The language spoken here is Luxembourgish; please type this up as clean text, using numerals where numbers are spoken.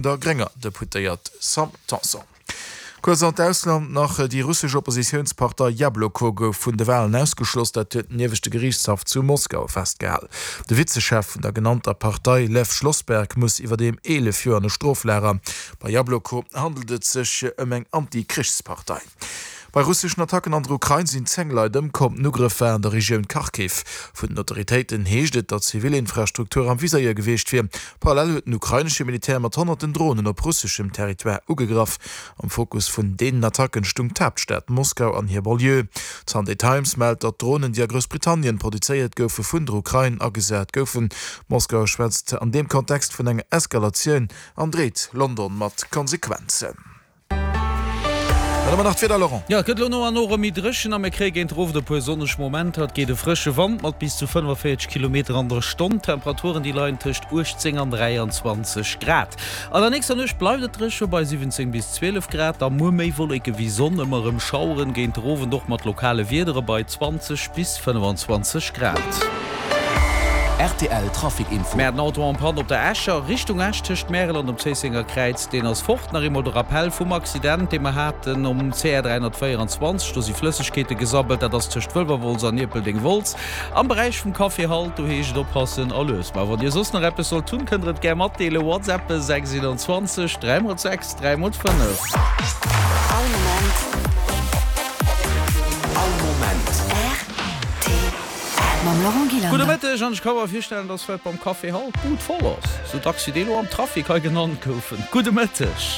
Der grénger Deputéiert Sam Tanson. Kuerz an d'Ausland nach, Déi russesch Oppositiounspartei Jabloko gouf vun de Walen ausgeschloss. Dat huet den ieweschte Geriichtshaff zu Moskau festgehal. De Vizechef vun der genannter Partei Lew Schlossberg muss iwwerdeem 11 Joer an e Stroflager. Bei Jabloko handelt et sech ëm eng Anti-Krichspartei. Bei russeschen Attacken an der Ukrain sinn 10 Leit ëmkomm. Den Ugrëff war an der Regioun Kharkiv. Vun den Autoritéiten heescht et, datt zivil Infrastruktur am Viséier gewiescht wier. Parallel huet den ukrainesche Militär mat honnerten Dronen op russeschem Territoire ugegraff. Am Fokus vun deenen Attacken stung d'Haaptstad Moskau an hir Banlieue. D'Sunday Times mellt, datt d'Dronen, déi a Groussbritannien produzéiert goufe, vun der Ukrain agesat goufen. Moskau schwätzt an deem Kontext vun enger Eskalatioun an dreet London mat Konsequenzen. Dann hu mer nach d'Wieder, Laurent. Jo, et gëtt elo no an no erëm méi dréchen a mir kréie géint den Owend e puer sonneg Momenter. Et geet e frësche Wand mat bis zu 45 Kilometer an der Stonn. D'Temperaturen, déi leien tëscht 18 an 23 Grad. An der nächster Nuecht bleift et dréche bei 17 bis 12 Grad. Da muer méi Wolleke wéi Sonn, ëmmer erëm Schaueren, géint den Owend och mat lokale Wiedere bei 20 bis 25 Grad. Rtl Trafic Info. Mir haten Auto en panne op der Escher Richtung Esch tëscht Märel an dem Zéissenger Kräiz. Deen ass fort. Nach eemol de Rappell vum Accident, dee mer haten um CR 324. Do si Flëssegkeete gesabbelt. Dat ass tëscht Wëlwerwolz an Ierpeldeng-Wolz am Beräich vum Café Halt. Do heescht et oppassen a lues. Ma wann Dir soss nach eppes sollt hunn, kënnt der et gär matdeelen. WhatsAppe 6 21 3 x 6 3 x 5. All Moment. All Moment. Rtl. Mam Laurent Gillander. Gudde Mëtteg, an ech ka mer virstellen, dass vläit beim Café Halt d'Bud voll ass, sou dacks wéi déi elo am Trafic hei genannt goufen. Gudde Mëtteg.